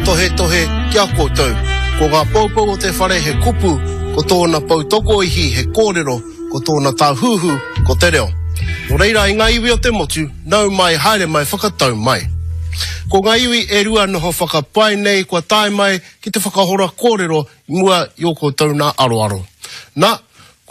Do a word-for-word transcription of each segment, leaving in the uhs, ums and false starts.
Tautohetohe ki a koutou. Ko ngā poupou o te whare he kupu, ko tōna poutokoihi he kōrero, ko tōna tāhuhu ko te reo. Nō reira i ngā iwi o te motu, nau mai, haere mai, whakatau mai. Ko ngā iwi e rua noho whakapae nei kua tae mai ki te whakahora kōrero i mua i ō koutou nā aroaro. Nā,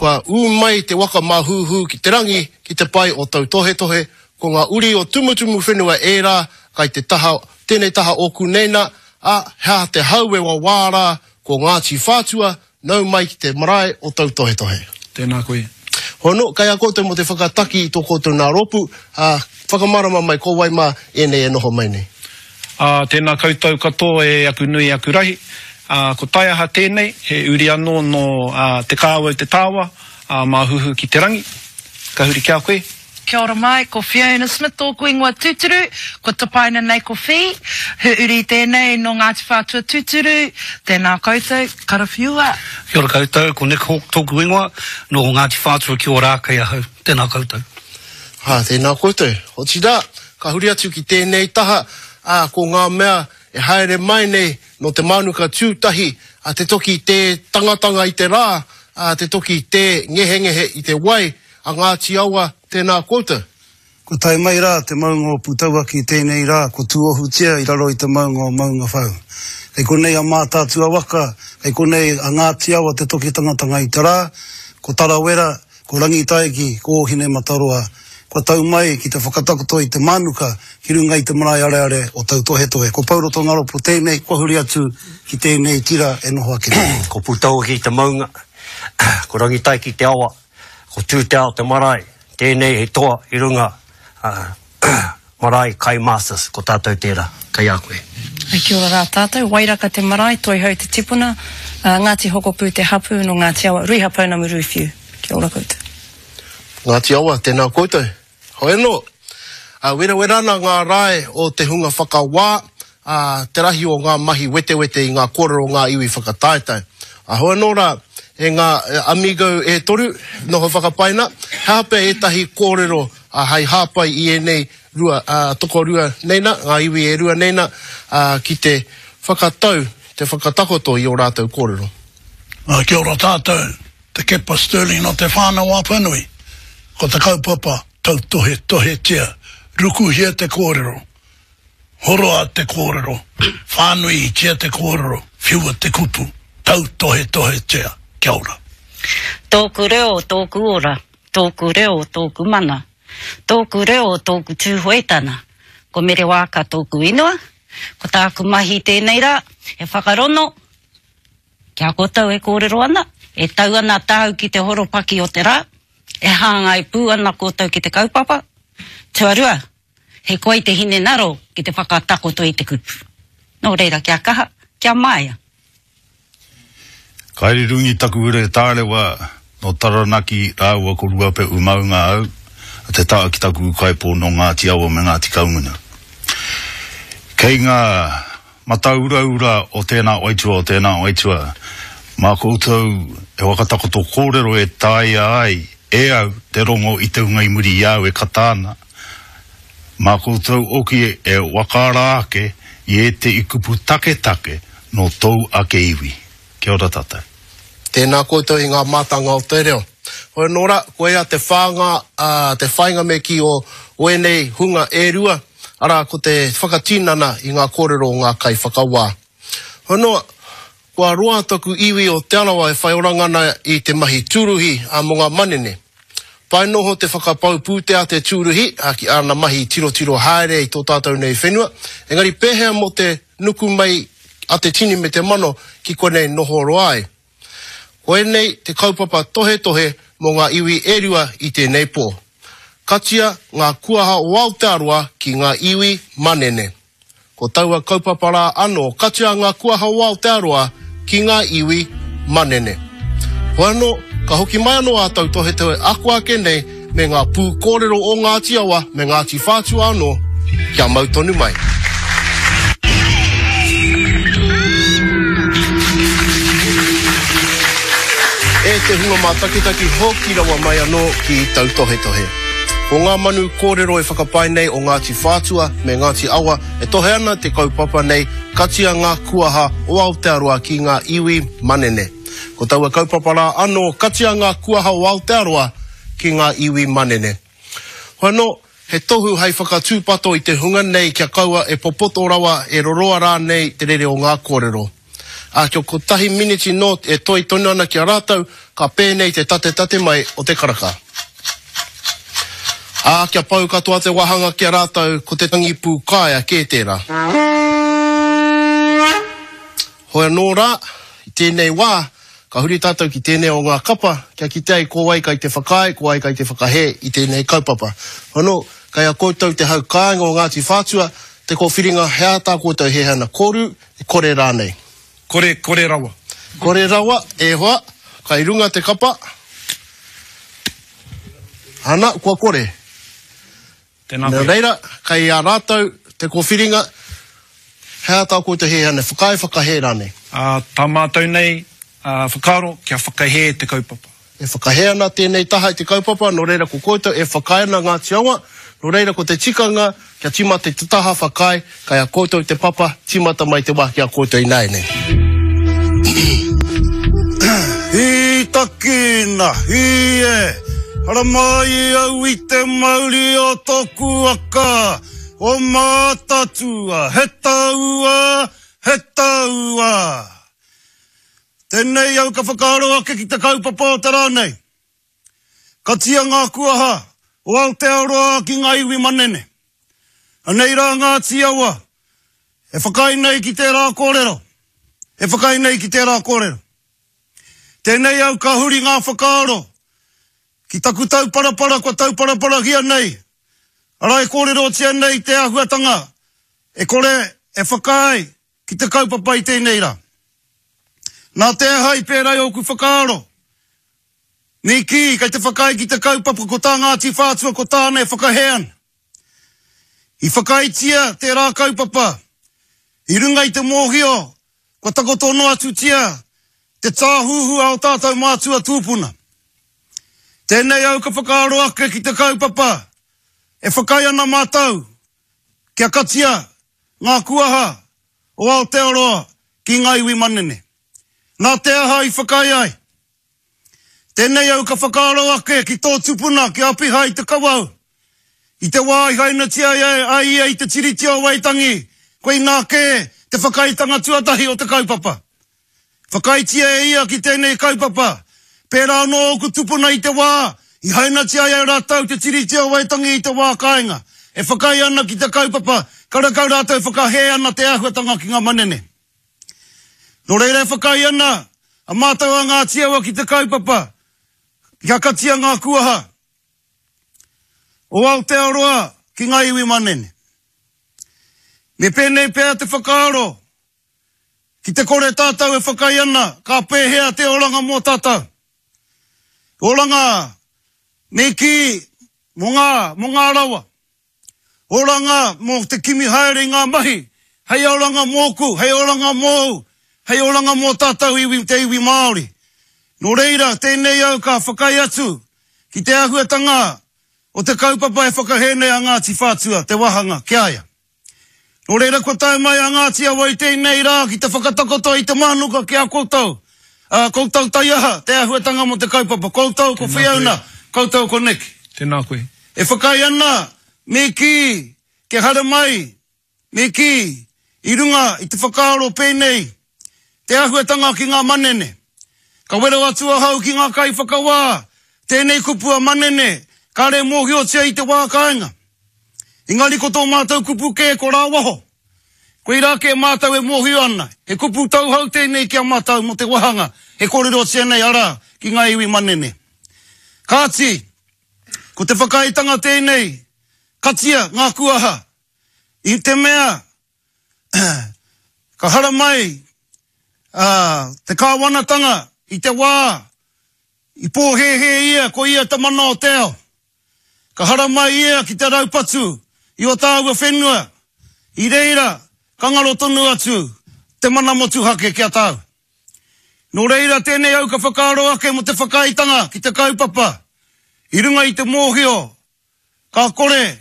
kua ū mai te waka māhūhū ki te rangi, ki te pae o Tautohetohe, ko ngā uri o Tumutumu whenua ērā, kai te taha, tēnei taha ōku nei nā, ā, he aha te hau e wawā rā, ko Ngāti Whātua, nau mai ki te marae o Tautohetohe. Tēnā koe. Hono, kai a koutou mō te whakataki i tō koutou nā rōpū, ā, whakamārama mai ko wai mā ēnei e noho mai nei. Ā, tēnā koutou katoa e aku nui, aku rahi. Ā, ko Taiaha tēnei, he uri anō nō Te Kāwau Te Tāwa, ā, Māhuhu ki te rangi. Ka huri ki a koe. Kia ora mai, ko Fiona Smith tōku ingoa tūturu, kua tapaina nei ko Fi, he uri tēnei nō Ngāti Whātua tūturu, tēnā koutou, karawhiua. Kia ora koutou, ko Nick Hawke tōku ingoa, nō Ngāti Whātua ki Ōrākei ahau, tēnā koutou. Ā, tēnā koutou. Otirā, ka huri atu ki tēnei taha, ā, ko ngā mea e haere mai nei nō te mānuka tūtahi, ā, te toki tē tangatanga i te rā, ā, te toki tē ngehengehe i te wai, a Ngāti Awa, tēnā koutou. Kua tae mai rā te maunga o Pūtauaki i tēnei rā, kua tūohutia i raro i te maunga o Maungawhau. Kei konei a Mātaatua waka, kei konei a Ngāti Awa te toki tangatanga i te rā, ko Tarawera, ko Rangitaiki, ko Ōhinemataroa, kua tau mai ki te whakatakoto i te mānuka ki runga i te marae areare o Tautohetohe. Ko Pouroto Ngaropo tēnei, kua huri atu ki tēnei tira e noho ake nei. Ko Pūtauaki te maunga, ko Rangitaiki te awa, ko Tūteao te marae, tēnei he toa i runga marae Kai Masters, ko tātou tērā, kei a koe. Kia ora rā tātou, Wairaka te marae, Toihau te tipuna, Ngāti Hokopū te hapū, nō Ngāti Awa, Ruiha Pounamu Rūwhiu. Kia ora koutou. Ngāti Awa, tēnā koutou. Hoi anō, werawera ana ngā rae o te hunga whakawā, ā, te rahi o ngā mahi wetewete i ngā kōrero o ngā iwi whakataetae. Ā, hoi anō rā, e ngā amigo e toru, noho whakapaina, he aha pea ētahi kōrero hai hāpai i ēnei rua, ā, tokorua nei nā, ngā iwi e rua nei nā, ā, ki te whakatau, te whakatakoto i ō rātou kōrero. Ā, kia ora tātou, Te Kepa Stirling nō Te Whānau-a-Apanui. Ko te kaupapa, tautohetohetia, rukuhia te kōrero, horoa te kōrero, whānuitia te kōrero, whiua te kupu, tautohetohetia. Kia ora. Tōku reo, tōku ora, tōku reo, tōku mana, tōku reo, tōku Tūhoetana. Ko Mere Waaka tōku inoa, ko tāku mahi tēnei rā, he whakarono ki a koutou e kōrero ana, e tau ana tāu ki te horopaki o te rā, e hāngai pū ana koutou ki te kaupapa. Tuarua, he koi te hinengaro ki te whakatakoto i te kupu. Nō reira, kia kaha, kia māia. Kairirungi taku ure tārewa nō Taranaki rāua ko Ruapehu maunga au, a te taha ki taku ūkaipō nō Ngāti Awa me Ngāti Kahungunu. Kei ngā matauraura o tēnā waitua o tēnā waitua, mā koutou e whakatakoto kōrero e taea ai e au te rongo i te hunga i muri i a au e kata ana, mā koutou hoki e whakaara ake i ētehi kupu taketake nō tōu ake iwi. Kia ora tātou. Tēnā koutou i ngā mātanga o te reo. Hoi anō rā, koia te whānga, ā, te whāinga me kī o, o ēnei hunga e rua, arā, ko te whakatinana i ngā kōrero o ngā kaiwhakawā. Hoi anō, kua roa taku iwi o Te Arawa e whai oranga ana i te mahi tūruhi, ā, mō ngā manene. Pai noho te whakapau pūtea te tūruhi, ā, ki āna mahi tirotiro haere i tō tātou nei whenua, engari pēhea mō te nuku mai a te tini me te mano ki konei noho roa ai. Koinei te kaupapa tohetohe mō ngā iwi e rua i tēnei pō. Katia ngā kuaha o Aotearoa ki ngā iwi manene. Ko taua kaupapa rā anō, katia ngā kuaha o Aotearoa ki ngā iwi manene. Hoi anō, ka hoki mai anō ā tautohetohe ako ake nei me ngā pū kōrero o Ngāti Awa me Ngāti Whātua anō, kia mau tonu mai. E te hunga mātakitaki hoki rawa mai anō ki tautohetohe. Ko ngā manu kōrero e whakapae nei o Ngāti Whātua me Ngāti Awa e tohe ana te kaupapa nei, Katia ngā kuaha o Aotearoa ki ngā iwi manene. Ko taua kaupapa rā anō, katia ngā kuaha o Aotearoa ki ngā iwi manene. Hoi anō, he tohu hei whakatūpato i te hunga nei kia kaua e popoto rawa e roroa rānei te rere o ngā kōrero. Ā, kia kotahi miniti nō e toi tonu ana ki a rātou, ka pēnei te tatetate mai o te karaka. Ā, kia pau katoa te wāhanga ki a rātou, ko te tangi pūkaea kē tērā. Hoi anō rā, i tēnei wā, ka huri tātou ki tēnei o ngā kapa, kia kite ai ko wai kai te whakaae, ko wai kai te whakahē i tēnei kaupapa. Hoi anō, kei a koutou te hau kāinga o Ngāti Whātua, te kōwhiringa he aha tā koutou he hana koru, e kore rānei. Kore, kore rawa. Kore rawa, e hoa, kai runga te kapa. Ana, kua kore. Tēnā Nā koe. reira, kei a rātou te kōwhiringa, he aha tā koutou he hana, whakaae whakahē rānei. Ā, tā mātou nei, ā, whakaaro kia whakahē te kaupapa. E whakahē ana tēnei taha i te kaupapa, nō reira ko koutou e whakaae ana Ngāti Awa, nō reira ko te tikanga kia tīmata i te taha whakaae, kei a koutou te papa, tīmata mai te wā ki a koutou ināianei. Hītakina, hī e, haramai au i te mauri o tōku waka, o Mātaatua, he taua, he taua. Tēnei au ka whakaaro ake ki te kaupapa o te rā nei. Katia ngā kuaha o Aotearoa ki ngā iwi manene. Anei rā Ngāti Awa, e whakaae nei ki tērā kōrero. E whakaae nei ki tērā kōrero. Tēnei au ka huri ngā whakaaro ki taku tauparapara kua tauparaparahia nei. Arā e kōrerotia nei te āhuatanga e kore e whakaae ki te kaupapa i tēnei rā. Nā te aha i pērā i ōku whakaaro. Me kī, kei te whakaae ki te kaupapa ko tā Ngāti Whātua ko tāna e whakahē ana. I whakaaetia tērā kaupapa i runga i te mōhio kua takoto noa atutia te tāhuhu a o tātou mātua tūpuna. Tēnei au ka whakaaro ake ki te kaupapa e whakaae ana mātou kia katia ngā kuaha o Aotearoa ki ngā iwi manene. Nā te aha i whakaae ai. Tēnei au ka whakaaro ake ki tō tupuna ki Apihai Te Kawau. I te wā i hainatia ai ia i te Tiriti o Waitangi, koinā kē te whakaaetanga tuatahi o te kaupapa. Whakaaetia e ia ki tēnei kaupapa. Pērā anō ōku tupuna i te wā, i hainatia ai e rātou te Tiriti o Waitangi i te wā kāinga. E whakaae ana ki te kaupapa, karekau rātou whakahē ana te āhuatanga ki ngā manene. Nō reira e whakaae ana a mātou a Ngāti Awa ki te kaupapa, kia katia ngā kuaha o Aotearoa ki ngā iwi manene. Me pēnei pea te whakaaro, ki te kore tātou e whakaae ana, ka pēhea te oranga mō tātou. Oranga me kī mō ngā, mō ngā rawa. Oranga mō te kimi haere i ngā mahi, hei oranga mōku, hei oranga mōu, hei oranga mō tātou iwi, te iwi Māori. Nō reira, tēnei au ka whakaae atu ki te āhuatanga o te kaupapa e whakahē nei a Ngāti Whātua, te wāhanga, ki a ia. Nō reira, kua tae mai a Ngāti Awa i tēnei rā ki te whakatakoto i te mānuka ki a koutou. Uh, koutou taiaha, te āhuatanga mō te kaupapa. Koutou ko Fiona, koutou ko Nick. Tēnā koe. E whakaae ana, me kī, kia haramai, me kī, i runga i te whakaaro pēnei, te āhuatanga ki ngā manene. Ka wero atu ahau ki ngā kaiwhakawā, tēnei kupu a manene, kāre mōhiotia i te wā kāinga. Engari ko tō mātou kupu kē ko rāwaho. Koirā kē mātou e mōhio ana, he kupu tauhou tēnei ki a mātou mō te wāhanga, he kōrerotia nei arā ki ngā iwi manene. Kāti, ko te whakaaetanga tēnei, katia ngā kuaha, i te mea, ka haramai uh, te kāwanatanga i te wā, i pōhēhē ia, ko ia te mana o te ao. Ka haramai ia ki te raupatu i o tāua whenua, i reira, ka ngaro tonu atu te mana motuhake ki a tāu. Nō reira tēnei au ka whakaaro ake mō te whakaaetanga ki te kaupapa, i runga i te mōhio, ka kore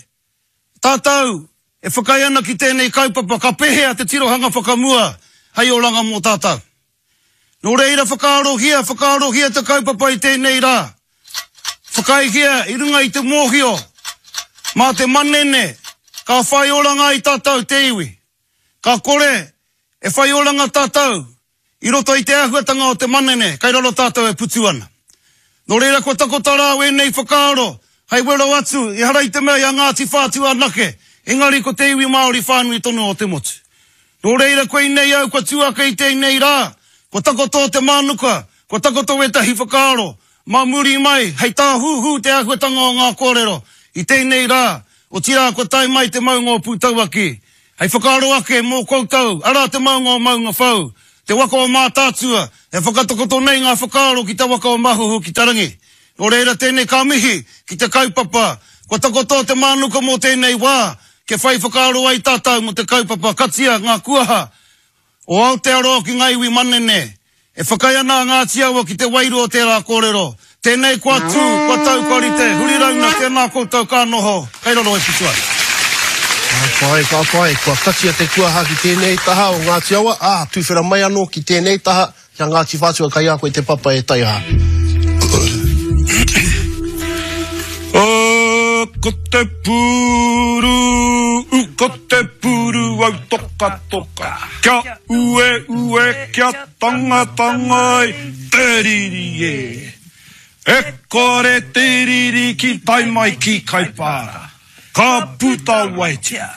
tātou e whakaae ana ki tēnei kaupapa ka pēhea te tirohanga whakamua hei oranga mō tātou. Nō reira whakaarohia, whakaarohia te kaupapa i tēnei rā. Whakaaehia i runga i te mōhio, mā te manene, ka whai oranga i tātou te iwi. Ka kore e whai oranga tātou i roto i te āhuatanga o te manene, kai raro tātou e putu ana. Nō reira kua takoto rā wēnei whakaaro, hei wero atu, ehara i te mea i a Ngāti Whātua anake, engari ko te iwi Māori whānui tonu o te motu. Nō reira koinei au kua tū ake i tēnei rā, kua takoto te mānuka, kua takoto wētahi whakaaro, mā muri mai, hei tāhūhū te āhuatanga o ngā kōrero i tēnei rā, otirā kua tae mai te maunga o Pūtauaki. Hei whakaaro ake mō koutou, arā te maunga o Maungawhau, te waka o Mātaatua, e whakatakoto nei ngā whakaaro ki te waka o Mahuhu ki te rangi. Nō reira tēnei ka mihi ki te kaupapa, kua takoto te mānuka mō tēnei wā, kia whai whakaaro ai tātou mō te kaupapa katia ngā kuaha o Aotearoa ki ngā iwi manene. E whakaae ana a Ngāti Awa ki te wairua o tērā kōrero. Tēnei kua tū, kua tau, kua rite, huri rauna, tēnā koutou ka noho, kei raro e putu ai. Ka pai, ka pai, kua katia te kuaha ki tēnei taha o Ngāti Awa, ā, tuwhera mai anō ki tēnei taha, ki a Ngāti Whātua kai a koe te papa e taiaha. Oh, ko te pūru, u, ko te pūru au toka toka. Kia ue ue, kia tanga tanga ai, te riri e. E kore te riri ki tai mai ki Kaipara. Ka puta waitia,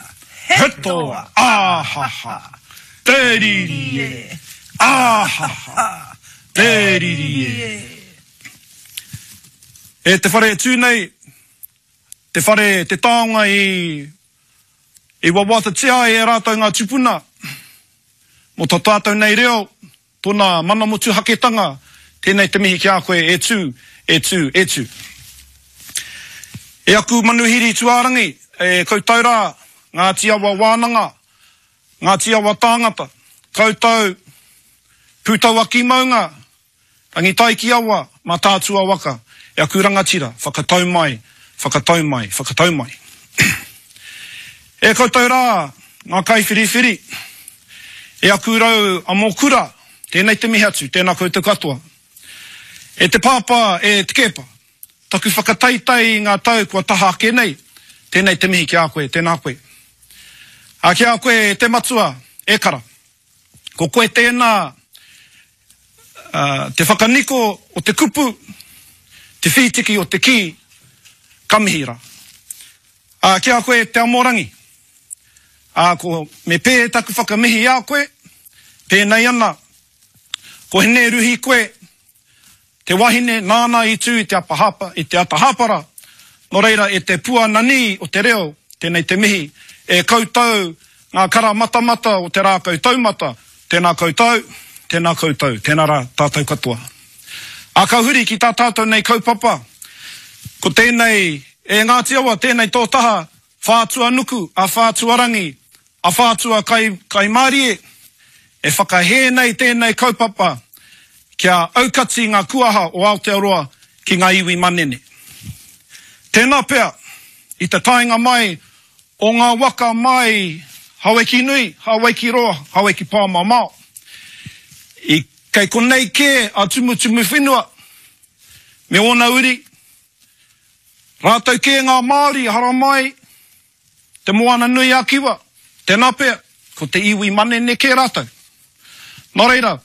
he toa, āhaha, te riri e, āhaha, te riri e. E te whare e tū nei, te whare te taonga i, i wawatatia ai e rātou ngā tupuna, mō tā tātou nei reo, tōna mana motuhaketanga, tēnei te mihi ki a koe e tū, e tū, e tū. E aku manuhiri tuārangi, e koutou rā, Ngāti Awa wānanga, Ngāti Awa tāngata, koutou Pūtauaki maunga, Rangitaiki awa, Mātaatua waka, e aku rangatira, whakatau mai, whakatau mai, whakatau mai. E koutou rā, ngā kaiwhiriwhiri, e aku rau amokura, tēnei te mihi atu, tēnā koutou katoa. E te pāpā, e te kepa, taku whakataitai i ngā tau kua taha ake nei, tēnei te mihi ki a koe, tēnā koe. A ki a koe e te matua, e kara. Ko koe tēnā, uh, te whakaniko o te kupu, te whītiki o te kī, ka mihi rā. A ki a koe te amorangi, a ko me pē taku whakamihi a koe, pēnei ana, ko hene ruhi koe, te wahine nāna i tū i te apahapa, i te atahapara, nō reira e te pua nani o te reo, tēnei te mihi, e koutou ngā kara matamata o te rākau taumata, tēnā koutou, tēnā koutou, tēnā rā tātou katoa. A ka huri ki tā tātou nei kaupapa, ko tēnei, e Ngāti Awa, tēnei tō taha, Whātua nuku, a Whātua rangi, a Whātua kai, kaimārie, e whakahē nei tēnei kaupapa, kia aukati ngā kuaha o Aotearoa ki ngā iwi manene. Tēnā pea, i te taenga mai o ngā waka mai Hawaiki nui, Hawaiki roa, Hawaiki pāmamao. I kei konei kē a Tumutumu whenua, me ōna uri, rātou kē ngā Māori haramai te moana nui a Kiwa, tēnā pea, ko te iwi manene kē rātou. Nō reira,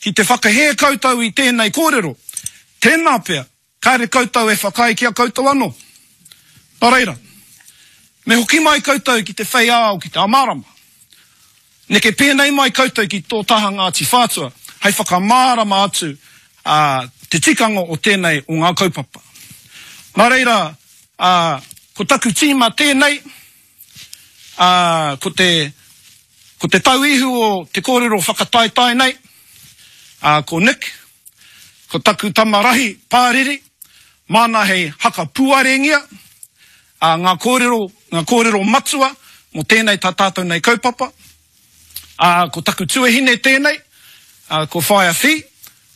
ki te whakahē koutou i tēnei kōrero, tēnā pea, kāre koutou e whakaae ki a koutou anō. Nō reira, me hoki mai koutou ki te whei ao, ki te amārama. Neke pēnei mai koutou ki tō taha Ngāti Whātua, hei whakamārama atu uh, te tikanga o tēnei o ngā kaupapa. Nā reira, uh, ko taku tīma tēnei, uh, ko te, ko te tauihu o te kōrero whakataetae nei, uh, ko Nick, ko taku tamarahi pāriri, māna hei haka puarengia, uh, ngā kōrero, ngā kōrero matua mō tēnei tā tātou nei kaupapa. Uh, ko taku tuahine tēnei, uh, ko Whaea Whi,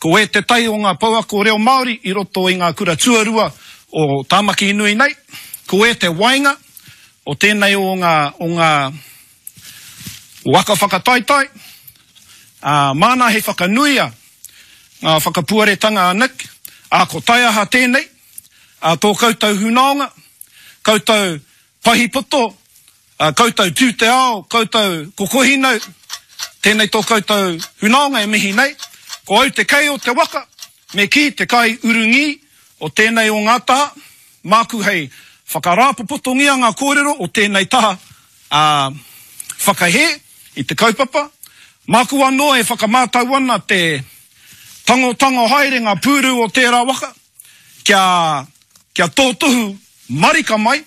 ko e te tai o ngā pouako reo Māori i roto i ngā kura tuarua o Tāmaki nui nei, ko e te wainga o tēnei o ngā, o ngā waka whakataetae, ā, māna hei whakanuia ngā whakapuaretanga a Nick, ā, ko taiaha tēnei, ā, tō koutou hunaonga, koutou pahipoto, ā, koutou tū te ao, koutou kokohinau, tēnei tō koutou hunaonga e mihi nei, ko au te kei o te waka, me kī te kai urungī o tēnei o ngā taha, māku hei whakarāpopotongia ngā kōrero o tēnei taha, ā, whakahē i te kaupapa, māku anō e whakamātau ana te tangotango haere ngā pūru o tērā waka, kia, kia tōtohu marika mai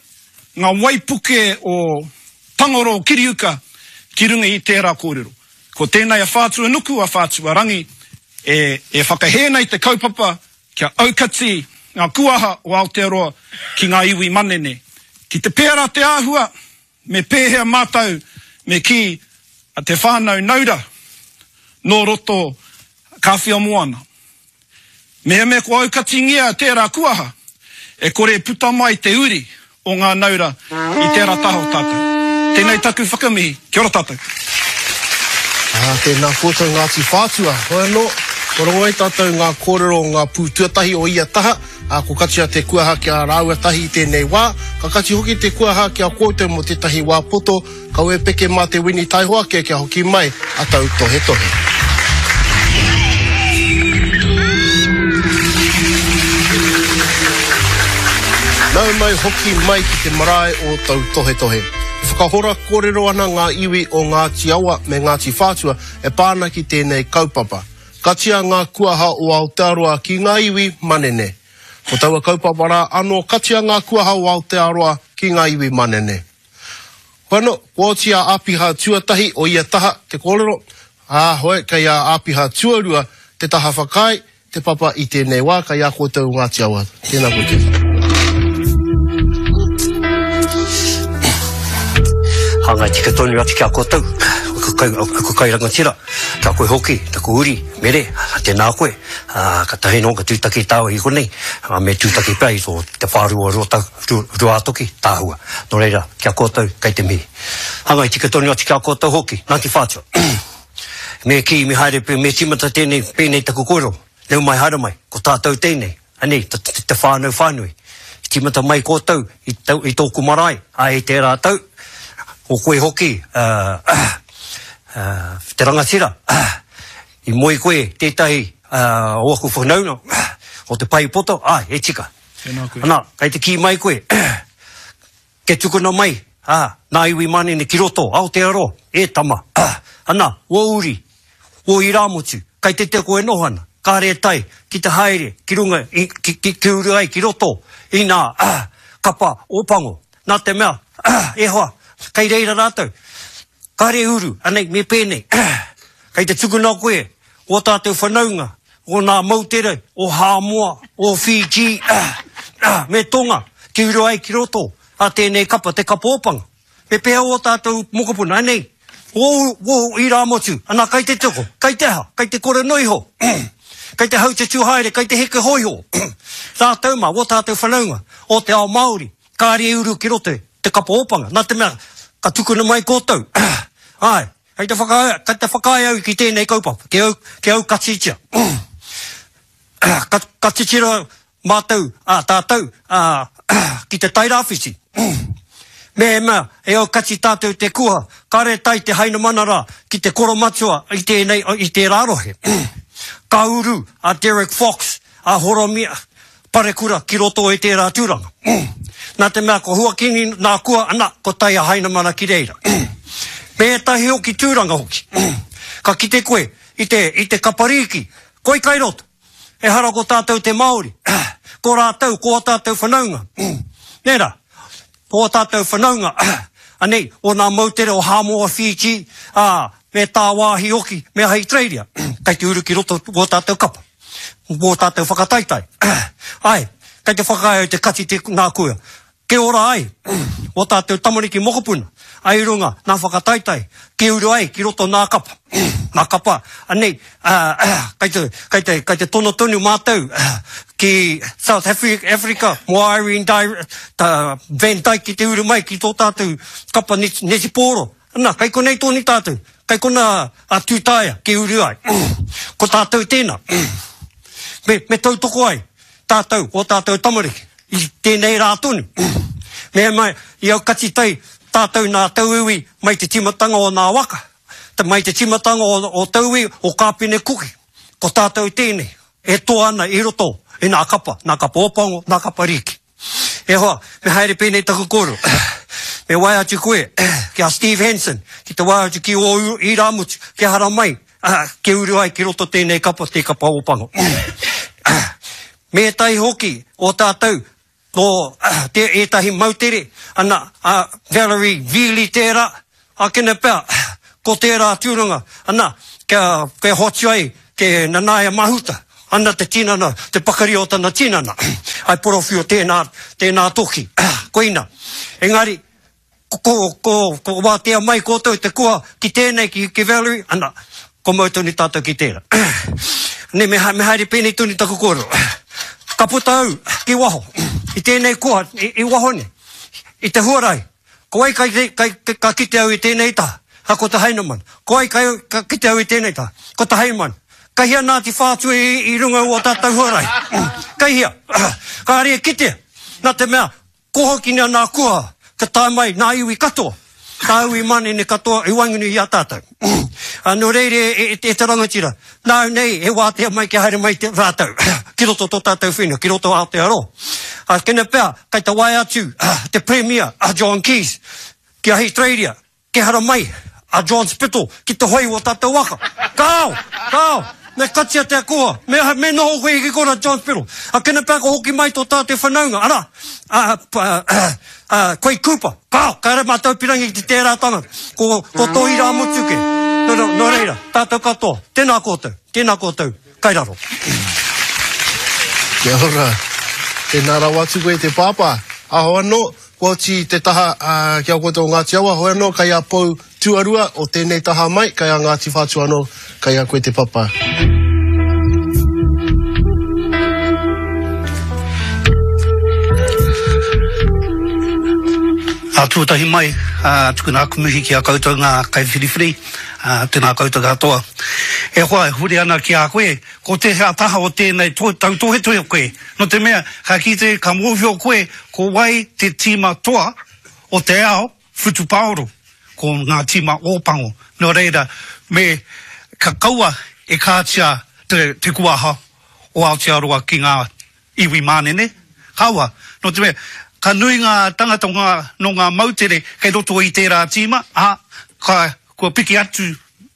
ngā waipuke o Tangoro Kiriuka ki runga i tērā kōrero. Ko tēnei a Whātua Nuku, a Whātua Rangi, e, e whakahē nei te kaupapa kia aukati ngā kuaha o Aotearoa ki ngā iwi manene. Ki te pērā te āhua, me pēhea mātou, me kī a te whānau naura nō roto Kāwhia Moana. Mehemea ko aukatingia tērā kuaha, e kore puta mai te uri o ngā naura i tērā taha o tātou. Tēnei taku whakamihi, kia ora tātou. Ā, tēnā koutou Ngāti Whātua. Hoi anō, kua rongo ai tātou ngā kōrero o ngā pū tuatahi o ia taha, ā, ko katia te kuaha ki a rāua tahi i tēnei wā, ka kati hoki te kuaha ki a koutou mō tētahi wā poto, kaua e peke mā te wini taihoa ake kia hoki mai a tautohetohe. Nau mai hoki mai ki te marae o Tautohetohe. E whakahora kōrero ana ngā iwi o Ngāti Awa me Ngāti Whātua e pā ana ki tēnei kaupapa. Katia ngā kuaha o Aotearoa ki ngā iwi manene. Ko taua kaupapa rā anō katia ngā kuaha o Aotearoa ki ngā iwi manene. Hoi anō, kua oti a Āpiha tuatahi o ia taha te kōrero, ā, hoi, kei a Āpiha tuarua te taha whakaae, te papa i tēnei wā, kei a koutou o Ngāti Awa. Tēnā koutou. Hāngai tika tonu atu ki a koutou, aku kai rangatira, kia koe hoki, taku uri, mere, tēnā koe, ka tahi nō, ka tūtaki tāua i konei, me tūtaki pea i tō te whārua Ruātoki, tāhua. Nō reira, ki a koutou, kei te mihi. Hāngai tika tonu atu ki a koutou hoki, Ngāti Whātua. Me kī, me haere, me tīmata tēnei, pēnei taku kōrero, nau mai haere mai, ko tātou tēnei, anei, te whānau whānui. Tīmata mai koutou i, i tōku marae, a i tērā tau, ko koe hoki, uh, uh, te rangatira, uh, i moe koe tētahi uh, o aku whanaunga, uh, o te pai poto, ai, e tika. Tēnā koe. Ana, kei te kī mai koe, ke tukuna mai, ah, nā iwi manene ki roto, Aotearoa, e tama, ah, ana, o uri, o irāmotu, kei te te koe noho ana, kāre tai, ki te haere, ki runga, i, ki, ki, ki uru ai, ki roto, i nā, ah, kapa, o pango, nā te mea, ah, e hoa, kei reira rātou, kāre uru, anei, me pēnei, kei te tukuna koe, o tātou whanaunga, o nā moutere, o Hāmoa, o Fiji, me Tonga, ki uru ai ki roto, a tēnei kapa, te kapa ōpanga. Me pēhea o tātou mokopuna, anei, o, o irāmotu, ana kei te toko, kei te aha, kei te kore noiho, kei te hautetu haere, kei te heke hoiho. Tātou mā, o tātou whanaunga, o te ao Māori, kāre uru ki roto, te kapa ōpanga, nā te mea, ka tukuna mai koutou. Ai, kei te whakae, kei te whakae au ki tēnei kaupapa, ki au, ki au katitia. Ka, ka titiro mātou, ā, tātou, ā, ki te Tairāwhiti. Mehemea, e au kati tātou te kuha, kāre tai te hainamana rā ki te koromatua i tēnei, i tērā rohe. Ka uru a Derek Fox, a Horomia Parekura ki roto i tērā tūranga. Nā te mea ko Huakini nā kua, ana, ko tai a Hainamana ki reira. Me ētahi hoki tūranga hoki. Ka kite koe i te, i te kaparīki, koi kai roto. Ehara ko tātou te Māori, ko rātou, ko ō tātou whanaunga. Nē rā, ko ō tātou whanaunga, anei, o nā moutere o Hāmoa Fiji, ā, me tāwāhi hoki, me Ahitereiria, kei te uru ki roto o tātou kapa, o tātou whakataetae. Ai, kei te whakaae au te kati te nā kua. Ke ora ai, o tātou tamariki mokopuna, ai runga, nā whakataetae, ki uru ai, ki roto nā kapa. Nā kapa, anei, kai te, kai te, kai te tono tonu mātou ki South Africa, mō Irene Dye, ta Van Dyke ki te uru mai ki tō tātou kapa netipōro. Ana, kai konei tōni tātou, kai kona a Tūtaia ki uru ai. Ko tātou tēnā. Me, me tautoko ai, tātou, o tātou tamariki, i tēnei rā tonu. Me mai, i aukati tai, tātou nā tauiwi mai te timatanga o nā waka, te mai te timatanga o, o tauiwi o Kāpene Kuki. Ko tātou tēnei, e toa ana i roto, i nā kapa, nā kapa Ōpango, nā kapa Rīki. E hoa, me haere pēnei taku kōrero. Me wae atu koe ki a Steve Hansen, ki te wae atu ki o Irāmutu, ki hara mai, ki uru ai ki roto tēnei kapa, te kapa Ōpango. Me ētahi hoki o tātou, nō te ētahi moutere, ana, a Valerie Veely tērā, ākene pea, ko tērā tūranga, ana, kia, kia hoatu ai ke Nanaia Mahuta, ana te tinana, te pakari o tana tinana, ai porowhio tēnā, tēnā toki, koina. Engari, ko, ko, ko wātea mai koutou te koa ki tēnei, ki, ki Valerie, ana, ko mau tonu tātou ki tērā. Ne, me, me haere pēnei tonu taku kōrero. Ka puta au ki waho, i tēnei koa, i, i waho nei, i te huarahi. Ko ai kai, kai, ka kite au i tēnei taha, ha ko te Heinemann. Ko ai kai, ka kite au i tēnei taha, ko te Heinemann. Kai hea nā te whātua i, i runga o tātou huarahi. Kai hea, kāre e kitea, nā te mea, ko hoki nā nā kua, ka tae mai nā iwi katoa, tā iwi manene katoa i waenganui i a tātou. Nō reira e, e, e te rangatira, nāu nei e wātea mai kia haere mai te rātou, ki roto tō tātou whenua, ki roto Aotearoa. A, kene pea, kai te wae atu te Premier, a John Keys, ki Ahitereiria, ke hara mai a John Spittle ki te hoi o tātou waka. Kāo, kāo, me katia te akoha, me, me noho koe ki kona John Spittle. A kene pea ka hoki mai tō tātou whanaunga, ara, a, a, a, a, Quade Cooper, kāo, kāre mātou pirangi ki te tērā tangata, ko, ko tō irāmutu ke. Nō, nō, nō reira, tātou katoa, tēnā koutou, tēnā koutou, kai raro. Kia ora, tēnā rawa atu koe te pāpā. Aho anō, kua oti te taha uh, ki a koutou o Ngāti Awa, hoi anō, kai a pou tuarua o tēnei taha mai, kai a Ngāti Whātua anō, kai a koe te papa. A tuatahi mai, a tukuna aku mihi ki a koutou ngā kaiwhiriwhiri, a tēnā koutou katoa. E hoa, e huri ana ki a koe, ko tēhea taha o tēnei to, tautohetohe koe. No te mea, ka kite, ka mōhio koe, ko wai te tīma toa o te ao whutupaoro, ko ngā tīma Ōpango. Nō reira, me ka kaua e kātia te, te kuaha o Aotearoa ki ngā iwi mānene. Kaua, no te mea, ka nui ngā tangata ngā, no ngā moutere kei roto i tērā tīma, a, ka, kua piki atu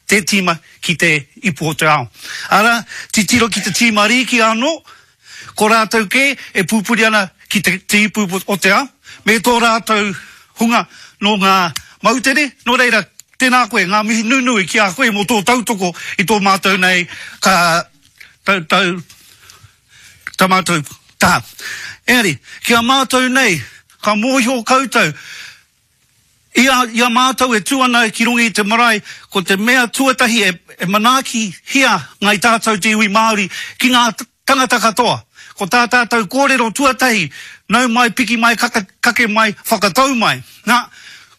te tīma ki te ipu o te ao. Ara, titiro ki te tīma rīki anō, ko rātou kē e pupuri ana ki te, te ipu o te ao, me tō rātou hunga no ngā moutere, nō reira, tēnā koe, ngā mihi nunui ki a koe mō tō tautoko i tō mātou nei ka tau, tau, tā mātou taha. Engari, ki a mātou nei, ka mōhio koutou, i a, i a mātou e tū ana ki runga i te marae, ko te mea tuatahi e, e manaaki hia ngai tātou te iwi Māori ki ngā tangata katoa. Ko tā tātou kōrero tuatahi, nau mai, piki mai, kaka, kake mai, whakatau mai. Nā,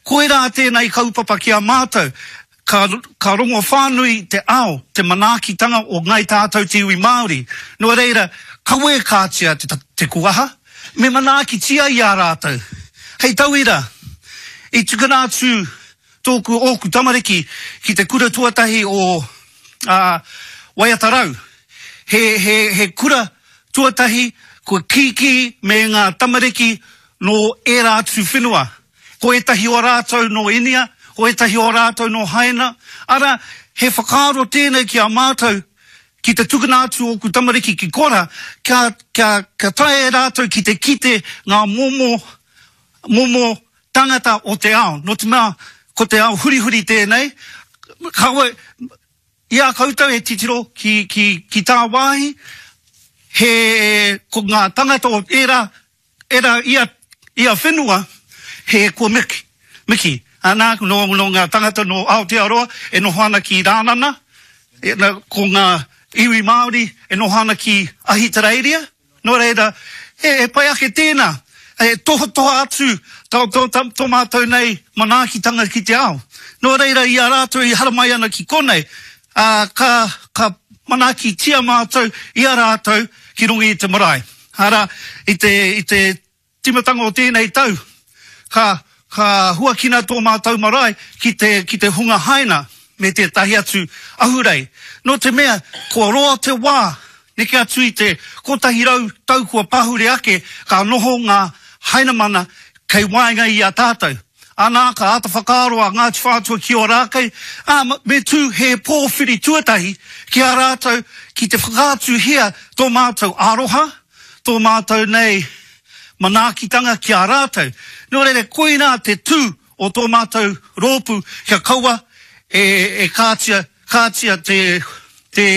koirā tēnei kaupapa ki a mātou, ka, ka rongo whānui te ao, te manaakitanga o ngai tātou te iwi Māori. Nō reira, kawe kātia te, te kuaha, me manaakitia i a rātou. Hei tauira, i tukuna atu tōku ōku tamariki ki te kura tuatahi o uh, Waiatarau. He, he, he kura tuatahi kua kīkī me ngā tamariki nō ērā atu whenua. Ko ētahi o rātou nō Inia, ko ētahi o rātou nō Haina. Ara, he whakaaro tēnei ki a mātou, ki te tukuna atu ōku tamariki ki kora, kia, kia, kia tae e rātou ki te kite ngā momo, momo tangata o te ao. Nō te mea, ko te ao hurihuri tēnei, kawe, i a koutou e titiro ki, ki, ki tā wāhi, he, ko ngā tangata o era, era ia, ia whenua, he kua miki, miki. Ana, nō, nō ngā tangata nō Aotearoa e noho ana ki Rānana, e, na, ko ngā iwi Māori e noho ana ki Ahitereiria. Nō reira, e, e pai ake tēnā, e tohatoha atu tō, tō, tō, tō mātou nei manaakitanga ki te ao. Nō reira, i a rātou i haramai ana ki konei, ā, ka, ka manaakitia mātou i a rātou ki runga i te marae. Arā, i te, i te timatanga o tēnei tau, ka, ka huakina tō mātou marae ki te, ki te hunga haina me tētahi atu ahurei. Nō te mea, kua roa te wā, neke atu i te kotahi rau tau kua pahure ake, ka noho ngā hainamana kei waenga i a tātou. Anā, ka āta whakaaro a Ngāti Whātua ki Ōrākei, ā, me tū he pōwhiri tuatahi ki a rātou ki te whakaatuhia tō mātou aroha, tō mātou nei manaakitanga ki a rātou. Nō reira, koinā te tū o tō mātou rōpū kia kaua e, e kātia, kātia te, te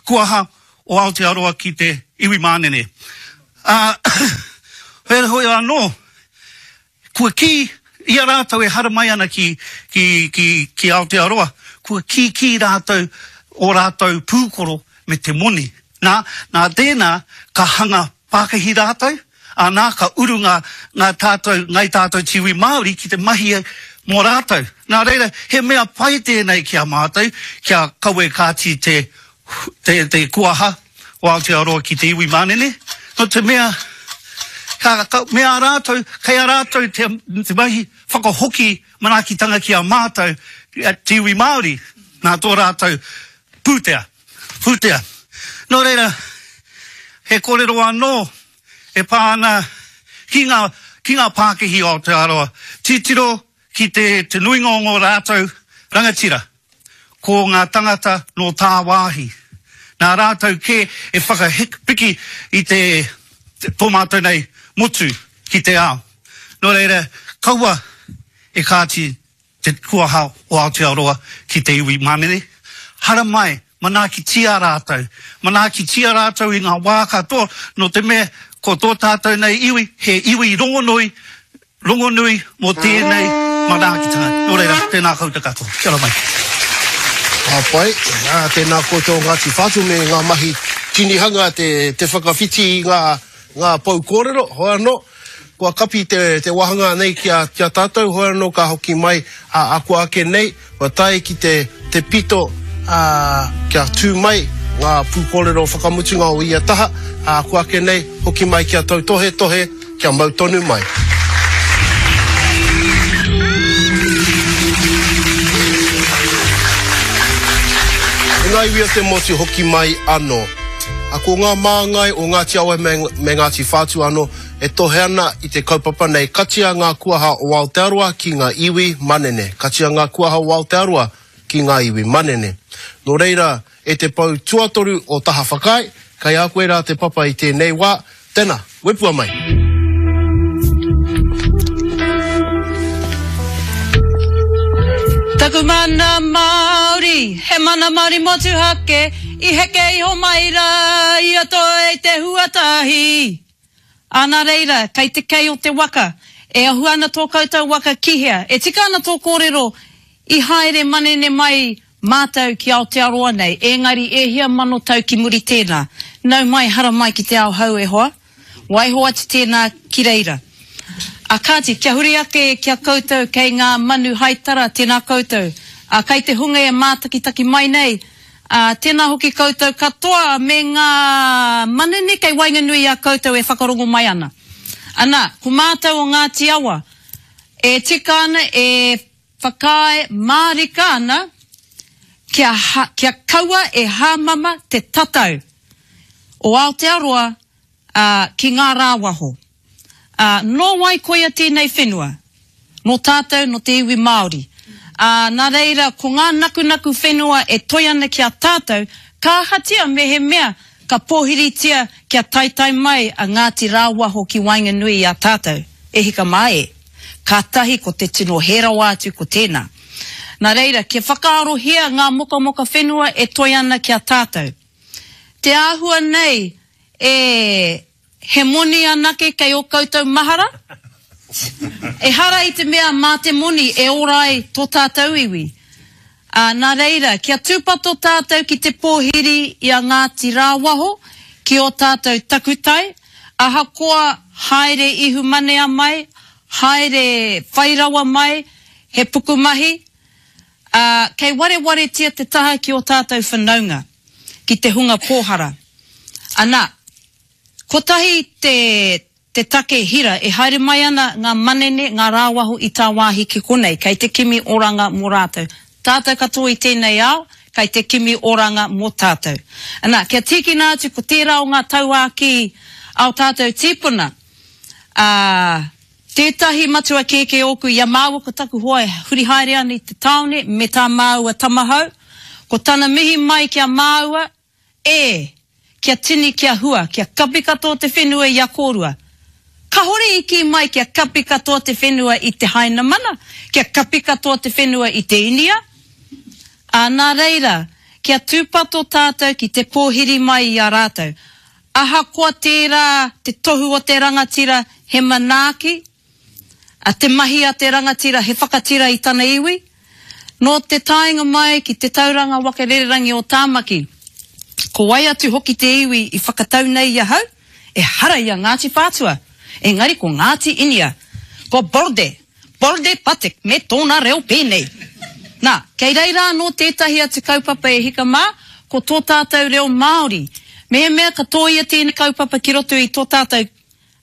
kuaha o Aotearoa ki te iwi manene. Ā, heoi anō, kua kī i a rātou e haramai ana ki, ki, ki, ki Aotearoa, kua kīkī rātou o rātou pūkoro me te moni. Nā, nā tēnā ka hanga pākihi rātou, ā, nā ka uru ngā, ngā tātou, ngai tātou te iwi Māori ki te mahi mō rātou. Nā reira, he mea pai tēnei ki a mātou, kia kawe kāti te, te, te kuaha o Aotearoa ki te iwi manene, nō te mea, ka, ka, me a rātou, kei a rātou te, te mahi whakahoki manaakitanga ki a mātou, te iwi Māori, nā tō rātou pūtea, pūtea. Nō reira, he kōrero anō e pā ana ki ngā, ki ngā pākihi o Aotearoa, titiro ki te, te nuinga o ngō rātou rangatira, ko ngā tangata nō tāwāhi. Nā rātou kē e whakapiki i te, te tō mātou nei motu ki te ao. Nō reira, kaua e kāti te kuaha o Aotearoa ki te iwi manene. Haramai, manaakitia rātou. Manaakitia rātou i ngā wā katoa, nō te mea ko tō tātou nei iwi, he iwi rongonui, rongonui mō tēnei manaakitanga. Nō reira, tēnā koutou katoa. Kia ora mai. Ka pai, ā, tēnā koutou Ngāti Whātua me ngā mahi tinihanga te, te whakawhiti i ngā, ngā pou kōrero, hoi anō, kua kapi te, te wāhanga nei ki a, ki a tātou, hoi anō ka hoki mai a, a kua ake nei, kua tae ki te, te pito, ā, kia tū mai ngā pūkōrero whakamutunga o ia taha, ā, kua ake nei, hoki mai kia tautohetohe, kia mau tonu mai. E ngā iwi o te motu hoki mai anō. A ko ngā māngai o Ngāti Awa me, me Ngāti Whātua anō e tohe ana i te kaupapa nei, katia ngā kuaha o Aotearoa ki ngā iwi manene. Katia ngā kuaha o Aotearoa ki ngā iwi manene. Nō reira, e te pou tuatoru o Taha Whakaae, kei a koe rā te papa i tēnei wā, tēnā, wepua mai. Taku mana Māori, he mana Māori motuhake, i heke iho mai rā i roto i te huatahi. Ā, nā reira, kei te kei o te waka, e ahu ana tō koutou waka ki hea? E tika ana tō kōrero, i haere manene mai mātou ki Aotearoa nei, engari e hia mano tau ki muri tēnā. Nau mai, haramai ki te ao hou e hoa. Waiho atu tēnā ki reira. A kāti, kia huri ake ki a koutou kei ngā manu haitara, tēnā koutou. A kei te hunga e mātakitaki mai nei, a, tēnā hoki koutou katoa me ngā manene kei waenganui i a koutou e whakarongo mai ana. Ana, ko mātou o Ngāti Awa, e tika ana, e whakaae mārika ana, kia, ha, kia kaua e hāmama te tatau o Aotearoa, a, ki ngā rāwaho. Ā, nō wai koia tēnei whenua? Nō tātou, nō te iwi Māori. Ā, nā reira, ko ngā nakunaku whenua e toe ana ki a tātou, ka ahatia mehemea ka pōhiritia kia taetae mai a Ngāti Rāwaho ki waenganui i a tātou, e hika mā e. Kātahi ko te tino hē rawa atu ko tēnā. Nā reira, kia whakaarohia ngā mokamoka whenua e toe ana ki a tātou. Te āhua nei e he moni anake kei ō koutou mahara? Ehara i te mea mā te moni e ora ai tō tātou iwi. Ā, nā reira, kia tūpato tātou ki te pōhiri i a Ngāti Rāwaho ki ō tātou takutai, ahakoa haere ihumanea mai, haere whai rawa mai, he pukumahi, ā, kei warewaretia te taha ki ō tātou whanaunga, ki te hunga pōhara. Ana, kotahi te, te take hira e haere mai ana ngā manene, ngā rāwaho i tāwāhi ki konei, kei te kimi oranga mō rātou. Tātou katoa i tēnei ao, kei te kimi oranga mō tātou. Ana, kia tīkina atu ko tērā o ngā tauākī a ō tātou tīpuna, ā, tētahi matua kēkē ōku i a māua ko taku hoa e huri haere ana i te tāone me tā māua tamahou, ko tana mihi mai ki a māua, E! Kia tini, kia hua, kia kapi katoa te whenua i a kōrua. Kahore i kī mai kia kapi katoa te whenua i te Hainamana, kia kapi katoa te whenua i te Inia. Ā, nā reira, kia tūpato tātou ki te pōhiri mai i a rātou. Ahakoa tērā te tohu o te rangatira he manaaki, ā, te mahi a te rangatira he whakatira i tana iwi, nō te taenga mai ki te tauranga waka rererangi o Tāmaki, ko wai atu hoki te iwi i whakatau nei i ahau? Ehara i a Ngāti Whātua, engari ko Ngāti Inia, ko Borde, Borde Patek me tōna reo pēnei. Nā, kei reira anō tētahi atu kaupapa e hika mā, ko tō tātou reo Māori. Mehemea ka tōia tēnei kaupapa ki roto i tō tātou,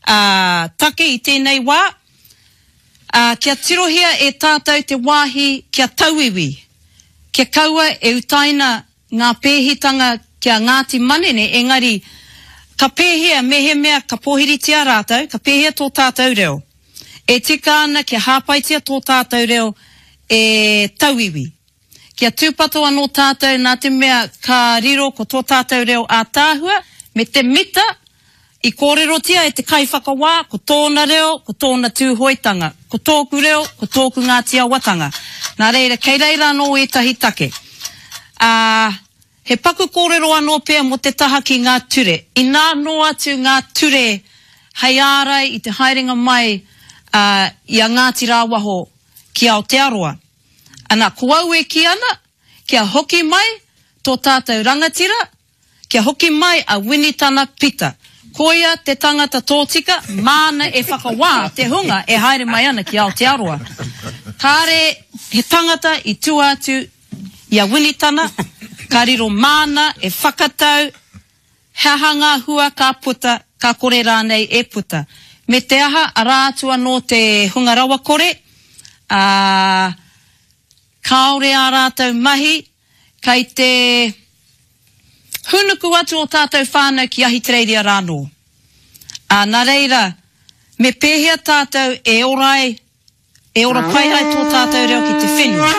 ā, take i tēnei wā, ā, kia tirohia e tātou te wāhi kia tauiwi, kia kaua e utaina ngā pēhitanga ki a Ngāti Manene, engari, ka pēhea mehemea ka pōhiritia rātou, ka pēhea tō tātou reo? E tika ana kia hāpaitia tō tātou reo e tauiwi. Kia tūpato anō tātou nā te mea ka riro ko tō tātou reo ātaahua me te mita i kōrerotia e te kaiwhakawā ko tōna reo, ko tōna Tūhoetanga, ko tōku reo, ko tōku Ngāti Awatanga. Nā reira, kei reira anō ētahi take. Ā, he paku kōrero anō pea mō te taha ki ngā ture. Inā noa atu ngā ture hei ārai i te haerenga mai ā, i a Ngāti Rāwaho ki Aotearoa. Ana, ko au e kī ana, kia hoki mai tō tātou rangatira, kia hoki mai a Winitana Pita. Koia te tangata tōtika, māna e whakawā te hunga e haere mai ana ki Aotearoa. Kāre he tangata i tua atu i a Winitana, ka riro māna e whakatau he aha ngā hua ka puta, ka kore rānei e puta. Me te aha, arā atu anō te hunga rawakore, ā, kāore ā rātou mahi, kei te hūnuku atu ō tātou whānau ki Ahitereiria rānō. Ā, nā reira, me pēhea tātou e ora ai, e ora pai ai tō tātou reo ki te whenua,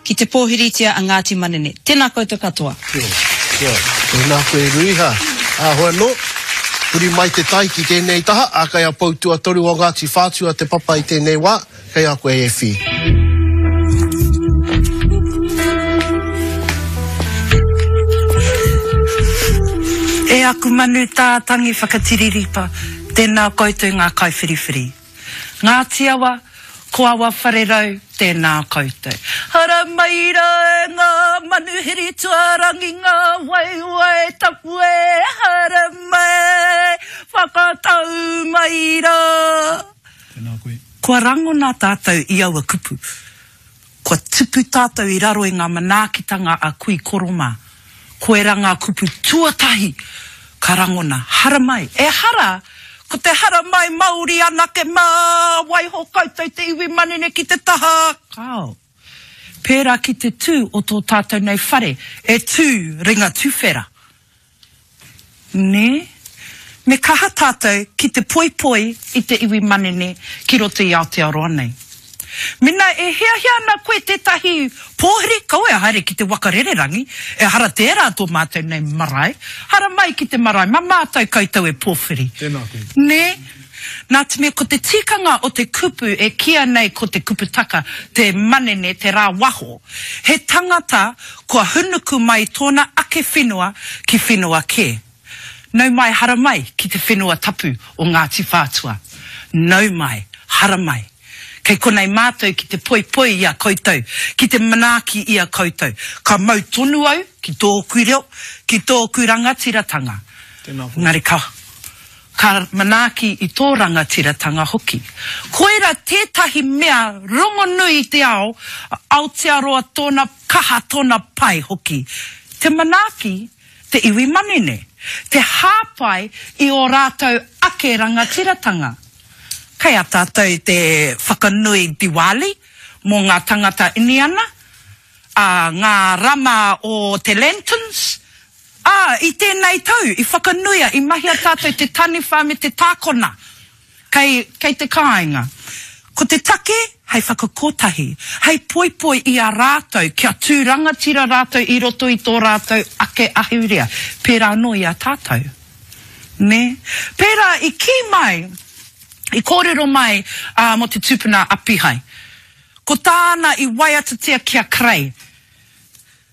ki te pōhiritia a Ngāti Manene. Tēnā koutou katoa. Kia ora, kia ora. Tēnā koe Ruiha. Ā, hoi anō, huri mai te tai ki tēnei taha, ā, kei a Pou Tuatoru o Ngāti Whātua te papa i tēnei wā, kei a koe e Whi. E aku manu tātangi whakatiriripa, tēnā koutou ngā kaiwhiriwhiri. Ngāti Awa, ko Awa Wharerau, tēnā koutou. Haramai rā e ngā manuhiri tuarangi ngā waewae tapu e, haramai, whakatau mai rā. Tēnā koe. Kua rangona tātou i aua kupu. Kua tupu tātou i raro i ngā manaakitanga a kui koro mā. Koirā ngā kupu tuatahi ka rangona, haramai. Ehara, ko te haramai Māori anake mā, waiho koutou te iwi manene ki te taha, kāo. Pērā ki te tū o tō tātou nei whare, e tū ringa tuwhera. Nē? Me kaha tātou ki te poipoi i te iwi manene ki roto i Aotearoa nei. Mena e hiahia ana koe tētahi pōhiri, kaua e haere ki te waka rererangi, ehara tērā tō mātou nei marae, haramai ki te marae, mā mātou koutou e pōwhiri. Tēnā koe. Nē? Nā te mea ko te tikanga o te kupu e kīia nei ko te kuputaka, te manene, te rāwaho, he tangata kua hunuku mai tōna ake whenua ki whenua kē. Nau mai haramai ki te whenua tapu o Ngāti Whātua. Nau mai Haramai. Kei konei mātou ki te poipoi i a koutou, ki te manaaki i a koutou. Ka mau tonu au ki tōku reo, ki tōku rangatiratanga. Engari ka, ka manaaki i tō rangatiratanga hoki. Koira tētahi mea rongonui i te ao, Aotearoa tōna kaha, tōna pai hoki. Te manaaki te iwi manene, te hāpai i ō rātou ake rangatiratanga. Kei a tātou te whakanui Diwali mō ngā tangata Iniana, a ngā rama o te lanterns, ā, i tēnei tau, i whakanuia, i mahia tātou te taniwha me te tākona kei, kei te kāinga. Ko te take, hei whakakotahi, hei poipoi i a rātou, kia tū rangatira rātou i roto i tō rātou ake ahurea, pērā anō i a tātou. Nē? Pērā i kī mai, i kōrero mai uh, mō te tupuna Apihai. Ko tāna i waiatatia ki a Kerei.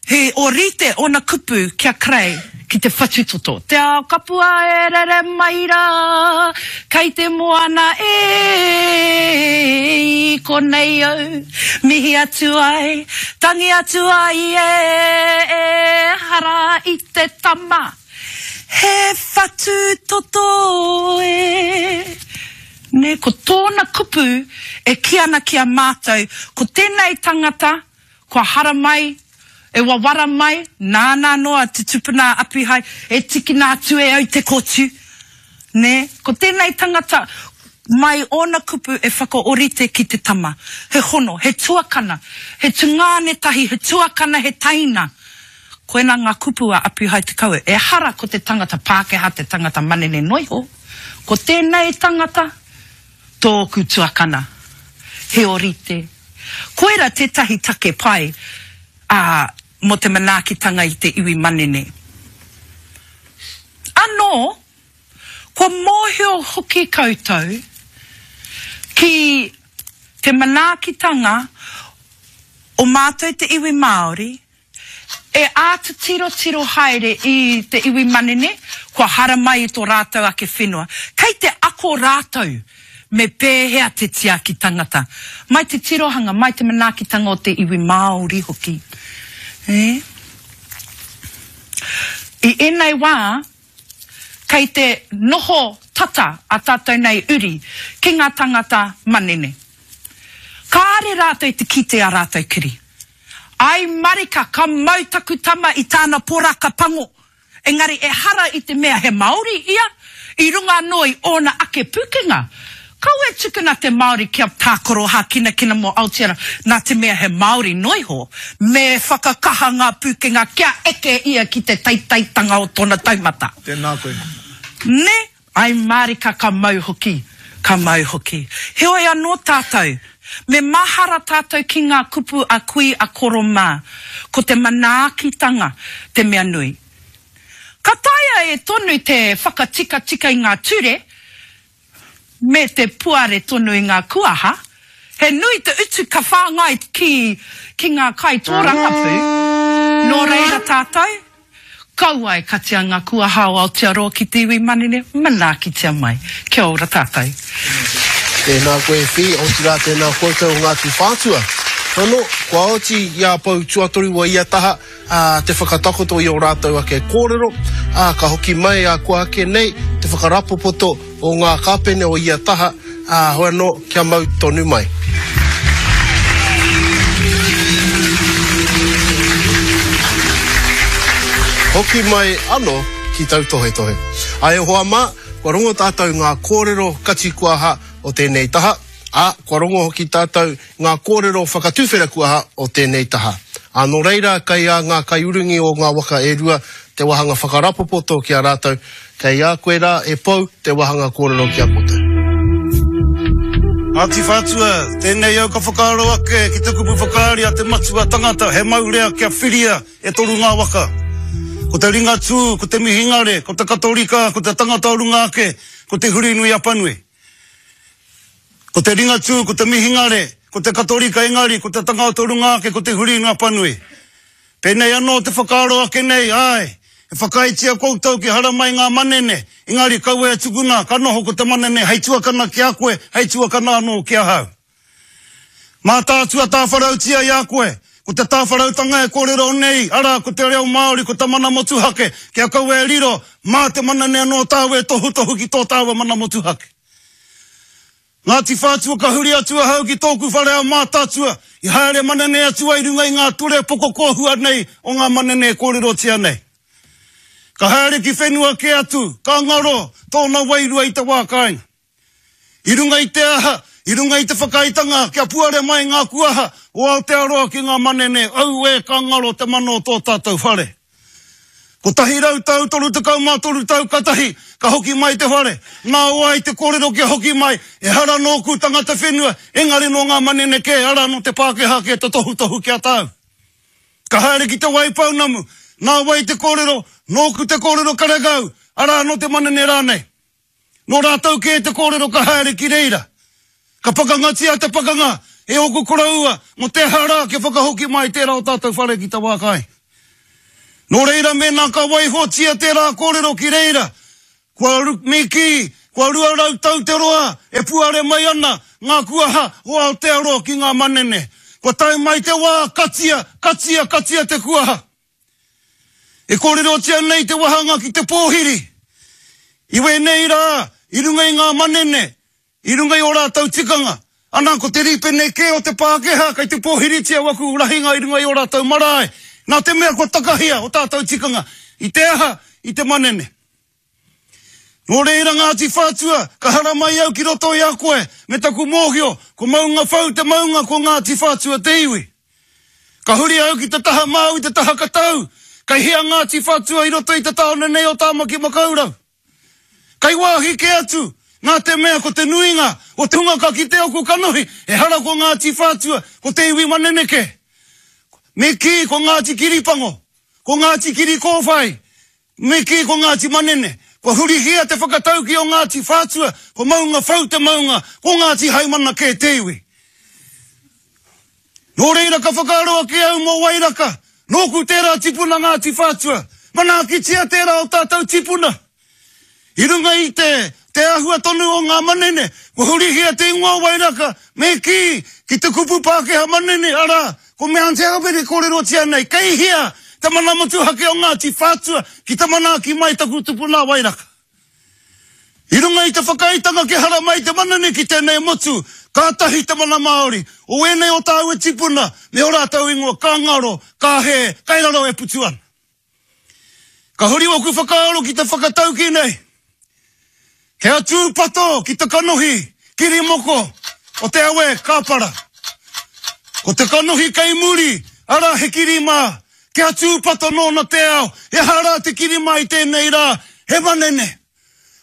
He orite ōna kupu ki a Kerei ki te whatutoto. Te ao kapua e rere mai rā, kei te moana e, i konei au, mihi atu ai, tangi atu ai e, e, hara i te tama. He whatutoto e. Ne, ko tōna kupu e kī ana ki a mātou, ko tēnei tangata, kua haramai, e wawara mai, nāna noa te tupuna Apihai, e tikina atu e au te kōtiu. Ne, ko tēnei tangata, mai ōna kupu e whakaorite ki te tama. He hono, he tuakana, he tungāne tahi, he tuakana, he taina. Koina ngā kupu a Apihai Te Kawe. Ehara ko te tangata Pākehā, te tangata manene noiho. Ko tēnei tangata, tōku tuakana, he orite. Koira tētahi take pai ā, mō te manaakitanga i te iwi manene. Anō, kua mōhio hoki koutou ki te manaakitanga o mātou te iwi Māori, e āta tirotiro haere i te iwi manene, kua haramai i tō rātou ake whenua. Kei te ako rātou me pēhea te tiaki tangata. Mai te tirohanga, mai te manaakitanga o te iwi Māori hoki. E? I ēnei wā, kei te noho tata a tātou nei uri ki ngā tangata manene. Kāre rātou te kite a rātou kiri. Ai marika, ka mau taku tama i tāna poraka pango. Engari ehara i te mea he Māori ia, i runga anō i ōna ake pūkenga. Kaua e tukuna te Māori kia tākaro hākinakina mō Aotearoa, nā te mea he Māori noiho, me whakakaha ngā pūkenga kia eke ia ki te teiteitanga o tōna taumata. Tēnā koe. Ne, ai marika ka mau hoki, ka mau hoki. Heoi anō tātou, me mahara tātou ki ngā kupu a kui a koro mā, ko te manaakitanga te mea nui. Ka taea e tonu te whakatikatika i ngā ture, me te puare tonu i ngā kuaha, he nui te utu ka whāngai ki, ki ngā kai tōrangapū, nō reira tātou, kaua e katia ngā kuaha o Aotearoa ki te iwi manene, manaakitia mai. Kia ora tātou. Tēnā koe Whi, otirā tēnā koutou o Ngāti Whātua. Ano, kua oti i a Pou Tuatoru wa ia taha ā, te whakatakoto i o rātou ake kōrero, ā, ka hoki mai a kua ake nei te whakarapopoto o ngā kāpene o ia taha, ā, hoi anō, kia mau tonu mai. Hoki mai anō ki tautohetohe. Ai e hoa mā, kua rongo tātou ngā kōrero kati kuaha o tēnei taha, ā, kua rongo hoki tātou ngā kōrero whakatuwhera kuaha o tēnei taha. Ā, nō reira, kei a ngā kaiurungi o ngā waka e rua te wāhanga whakarapopoto ki a rātou, kei a koe rā e Pou te wāhanga kōrero ki a koutou. Ngāti Whātua, tēnei au ka whakaaro ake ki te kupu whakaari a te matua tangata, he maurea kia whiria e toru ngā waka. Ko te Ringatū, ko te Mihingare, ko te Katorika, ko te tangata o runga ake, ko te Hurinui Apanui. Ko te Ringatū, ko te Mihingare, ko te Katorika engari, ko te tangata o runga ake, ko te Hurinui Apanui. Pēnei anō te whakaaro ake nei, ai, E whakaaetia koutou ki haramai ngā manene, engari kaua e tukuna, ka noho ko te manene hei tuakana ki a koe, hei tuakana anō ki ahau. Mātaatua tāwharautia i a koe, ko te tāwharautanga e kōrero nei, arā, ko te reo Māori, ko te mana motuhake, kia kaua e riro, mā te manene anō tāua e tohutohu ki tō tāua mana motuhake. Ngāti Whātua ka huri atu ahau ki tōku whare a Mātaatua, i haere manene atu ai runga i ngā ture pokokōhua nei o ngā manene e kōrerotia nei. Ka haere ki whenua kē atu, ka ngaro tōna wairua i te wā kāinga. I runga i te aha, i runga i te whakaaetanga kia puare mai ngā kuaha o Aotearoa ki ngā manene, auē ka ngaro te mana o tō tātou whare. Kotahi rau tau, toru tekau mā toru tau katahi, ka hoki mai te whare. Nā wai te kōrero kia hoki mai, ehara nōku tangata whenua, engari nō ngā manene kē, arā nō te Pākehā kē te tohutohu ki a tāu. Ka haere ki Te Waipounamu, nā wai te kōrero, nōku te kōrero karekau, arā nō te manene rānei. Nō rātou kē te kōrero ka haere ki reira. Ka pakangatia te pakanga e ōku koroua mō te aha rā kia whakahoki mai tērā o tātou whare ki te wā kāinga. Nō reira mēnā ka waihotia tērā kōrero ki reira, kua me kī, kua rua rau tau te roa e puare mai ana ngā kuaha o Aotearoa ki ngā manene. Kua tae mai te wā, katia, katia, katia te kuaha. E kōrerotia nei te wahanga ki te pōhiri. I wēnei rā, i runga i ngā manene, i runga i ō rātou tikanga, ana ko te rīpene kē o te Pākehā kei te pōhiritia waku rahinga i runga i ō rātou marae, nā te mea kua takahia o tātou tikanga i te aha, i te manene. Nō reira Ngāti Whātua, ka haramai au ki roto i a koe, me taku mōhio, ko Maungawhau te maunga ko Ngāti Whātua te iwi. Ka huri au ki te taha Māui, te taha Katau, kei hea Ngāti Whātua i roto i te tāone nei o Tāmaki Makaurau. Kei wāhi kē atu, nā te mea ko te nuinga o te hunga ka kite oku kanohi, ehara ko Ngāti Whātua, ko te iwi manene kē. Me kī ko Ngāti Kiripango, ko Ngāti Kirikōwhai, me kī ko Ngāti Manene. Kua hurihia te whakatauki o Ngāti Whātua, ko Maungawhau te maunga, ko Ngāti Haimana kē te iwi. Nō reira ka whakaaro ake au mō Wairaka, nōku tērā tipuna Ngāti Whātua, manaakitia tērā o tātou tipuna. I runga i te, te āhua tonu o ngā manene, kua hurihia te ingoa o Wairaka, me kī, ki te kupu Pākehā manene, arā, ko Mount Albert e kōrerotia nei, kei hea te mana motuhake o Ngāti Whātua ki te manaaki mai taku tupuna Wairaka. I runga i te whakaaetanga kia haramai te manene ki tēnei motu, kātahi te mana Māori, o ēnei o tāua tipuna, me ō rātou ingoa ka ngaro, ka hē, kai raro e putu ana. Ka huri ōku whakaaro ki te whakatauki nei, kia tūpato ki te kanohi, kirimoko, o te awe kāpara. Ko te kanohi kei muri, arā he kiri mā, kia tūpato nōna te ao, he aha rā te kiri mā i tēnei rā, he manene.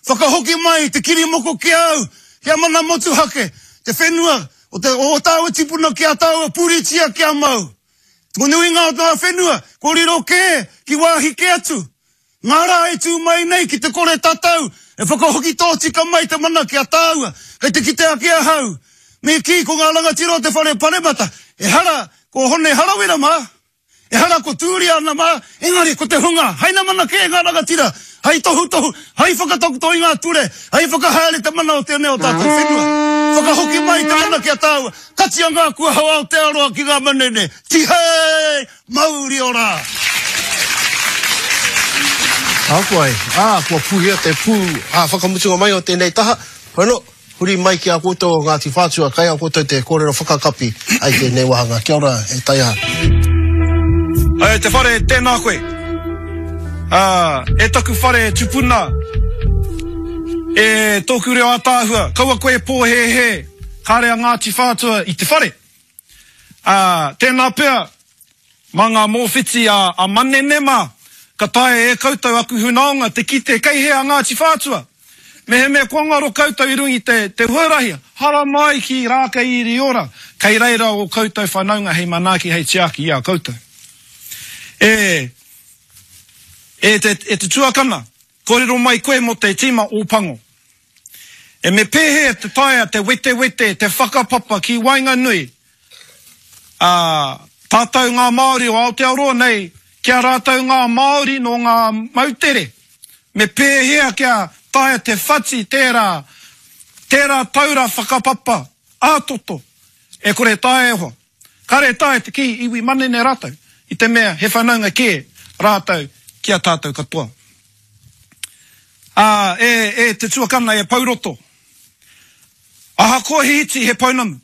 Whakahoki mai te kirimoko ki au, kia mana motuhake, te whenua o te o tāua tipuna ki a tāua puritia kia mau. Ko nuinga o ngā whenua, ko riro kē, ki wāhi kē atu. Ngā rā e tū mai nei ki te kore tatau, e whakahoki tōtika mai te mana ki a tāua, kei te kite ake ahau. Me kī ko ngā rangatira o te whare paremata, ehara ko Hone Harawira mā, ehara ko Tūriana mā, engari ko te hunga, haina mana kē ngā rangatira, hei tohutohu, hei whakatakoto i ngā ture, hei whakahaere te mana o tēnei o tātou whenua. Whakahoki mai te mana ki a tāua, katia ngā kuaha o Aotearoa ki ngā manene, tihei, mauri ora! Ākuai, ā, kua pūhia te pū ā whakamutunga mai o tēnei taha, hono, huri mai ki a koutou o Ngāti Whātua, kai a koutou te kōrero whakakapi ai tēnei wāhanga. Kia ora, e taiaha. E te whare, tēnā koe. Ā, e taku whare tupuna, e tōku reo ātaahua, kaua koe e pōhēhē, kāre a Ngāti Whātua i te whare. Ā, tēnā pea, mā ngā mōwhiti a, a Manene mā, ka taea e koutou aku hunaonga te kite kei hea Ngāti Whātua. Mehemea kua ngaro koutou i runga i te, te huarahi, haramai ki Rākeiiriora, kei reira o koutou whanaunga hei manaaki, hei tiaki i a koutou. E, e, te, e te tuakana, kōrero mai koe mō te tīma Ōpango. E me pēhea te taea te wetewete, te whakapapa ki waenganui, ā, tātou ngā Māori o Aotearoa nei ki a rātou ngā Māori nō ngā moutere, me pēhea kia taea te whati tērā, tērā taura whakapapa ā-toto, e kore taea e hoa. Kāre taea te kī iwi manene rātou, i te mea he whanaunga kē rātou ki a tātou katoa. Ā, e, e te tuakana e Pouroto, ahakoa he iti he pounamu,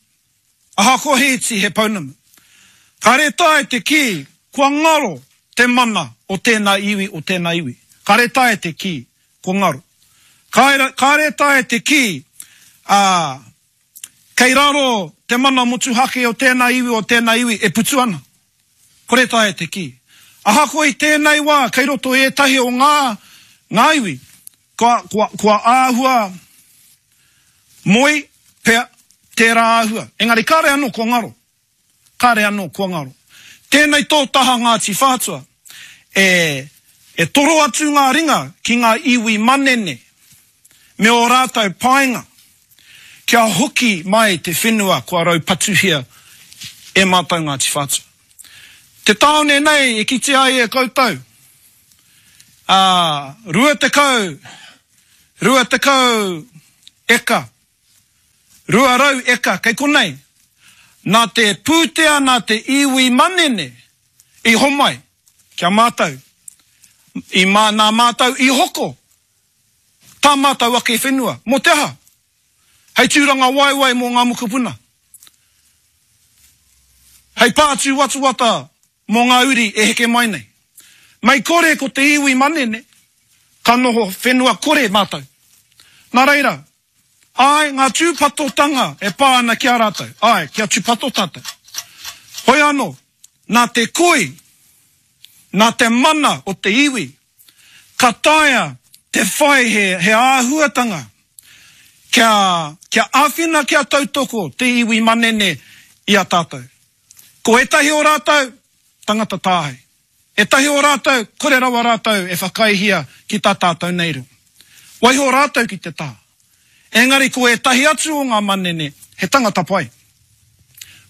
ahakoa he iti he pounamu, kāre taea te kī kua ngaro te mana o tēnā iwi, o tēnā iwi. Kāre taea te kī kua ngaro. Kāre, kāre taea te kī, ā, kei raro te mana motuhake o tēnā iwi, o tēnā iwi e putu ana. Kore taea te kī. Ahakoa i tēnei wā, kei roto ētahi o ngā, ngā iwi, kua, kua, kua āhua moe pea tērā āhua. Engari kāre anō kua ngaro. Kāre anō kua ngaro. Tēnei tō taha Ngāti Whātua, e, e toro atu ngā ringa ki ngā iwi manene me ō rātou painga, kia hoki mai te whenua kua raupatuhia e mātou Ngāti Whātua. Te tāone nei e kitea ai e koutou, ā, rua tekau, rua tekau eka, rua rau eka kei konei, nā te pūtea nā te iwi manene i homai ki a mātou, i mā, nā mātou i hoko tā mātou ake whenua. Mō te aha? Hei tūranga waewae mō ngā mokopuna. Hei pātū watuwata mō ngā uri e heke mai nei. Mei kore ko te iwi manene, ka noho whenua kore mātou. Nā reira, āe, ngā tūpatotanga e pā ana ki a rātou, āe, kia tūpato tātou. Hoi anō, nā te koi, nā te mana o te iwi, ka taea te whai he, he āhuatanga kia, kia āwhina, kia tautoko te iwi manene i a tātou. Ko ētahi o rātou, tangata tāhei. Ētahi o rātou, kore rawa rātou e whakaihia ki tā tātou nei reo. Waiho rātou ki te taha. Engari ko ētahi atu o ngā manene, he tangata pai.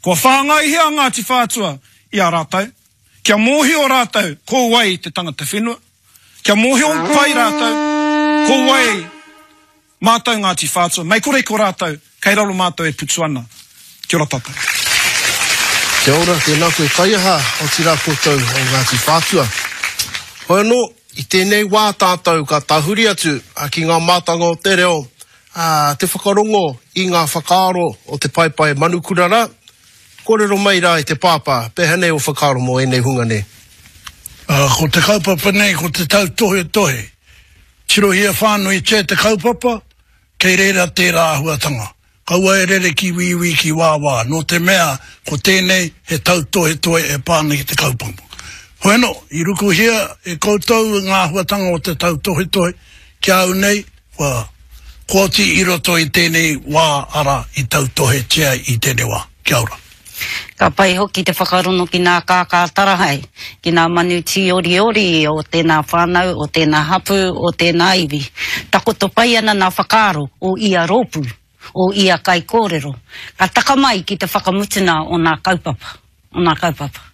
Kua whāngaihia Ngāti Whātua i a rātou, kia mōhio rātou ko wai te tangata whenua, kia mōhio pai rātou ko wai mātou Ngāti Whātua, mei kore ko rātou, kei raro mātou e putu ana. Kia ora tātou. Kia ora, tēnā koe Taiaha, otirā koutou o Ngāti Whātua. Hoi anō, i tēnei wā tātou ka tahuri atu ki ngā mātanga o te reo, a, te whakarongo i ngā whakaaro o te paepae manukura rā, kōrero mai rā i te pāpā, pēhea nei o whakaaro mō ēnei hunga nei? Uh, ko te kaupapa nei, ko te tautohetohe. Tirohia whānuitia te kaupapa, kei reira tērā āhuatanga. Kaua e rere ki wīwī ki wāwā, nō te mea ko tēnei he tautohetohe e pā ana ki te kaupapa. Hoi anō, i rukuhia e koutou ngā āhuatanga o te tautohetohe, ki a au nei, kua koti i roto i tēnei wā ara i tautohetia i tēnei wā. Kia ora. Ka pai hoki te whakarono ki ngā kākā tarahae, ki ngā manu tīoriori o tēnā whānau, o tēnā hapū, o tēnā iwi. Takoto pai ana ngā whakaaro o ia rōpū, o ia kaikōrero. Ka taka mai ki te whakamutuna o ngā kaupapa, o ngā kaupapa.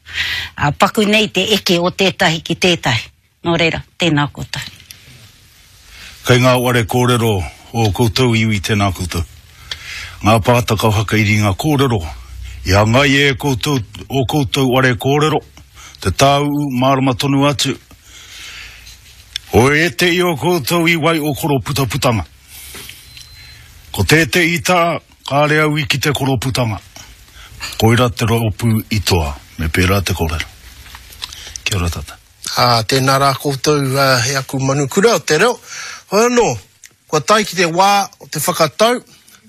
A, paku nei te eke o tētahi ki tētahi. Nō reira, tēnā koutou. Kei ngā ware kōrero o koutou iwi tēnā koutou. Ngā pātaka whakairi ngā kōrero, i hangai e koutou, o koutou ware kōrero, te tāuu mārama tonu atu. O e te i o koutou i wai o koroputaputanga. Ko tēte i tā, kāre au i ki te koroputanga. Koira te rōpū i toa, me pērā te kōrero. Kia ora tata. Ā, tēnā rā koutou uh, e aku manukura o te reo. Hoi anō, kua tae ki te wā o te whakatau,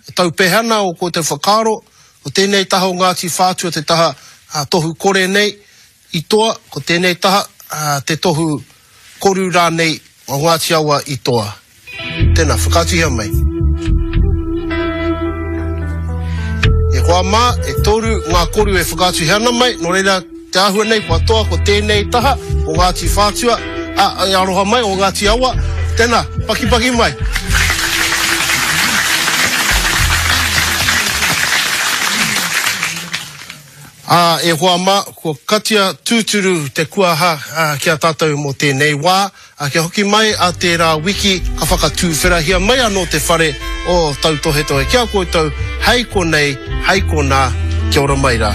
e taupehana o koutou whakaaro, ko tēnei taha o Ngāti Whātua te taha uh, tohu kore nei i toa, ko tēnei taha uh, te tohu koru rānei o Ngāti Awa i toa. Tēnā, whakaatuhia mai. E hoa mā, e toru ngā koru e whakaatuhia ana mai, nō reira te āhua nei kua toa ko tēnei taha o Ngāti Whātua, a, e aroha mai o Ngāti Awa. Tēnā, pakipaki mai. Ā, e hoa mā, kua katia tūturu te kuaha ki a tātou mō tēnei wā, ā, kia hoki mai a tērā wiki ka whakatūwherahia mai anō te whare o Tautohetohe ki a koutou, hei konei, hei konā, kia ora mai rā.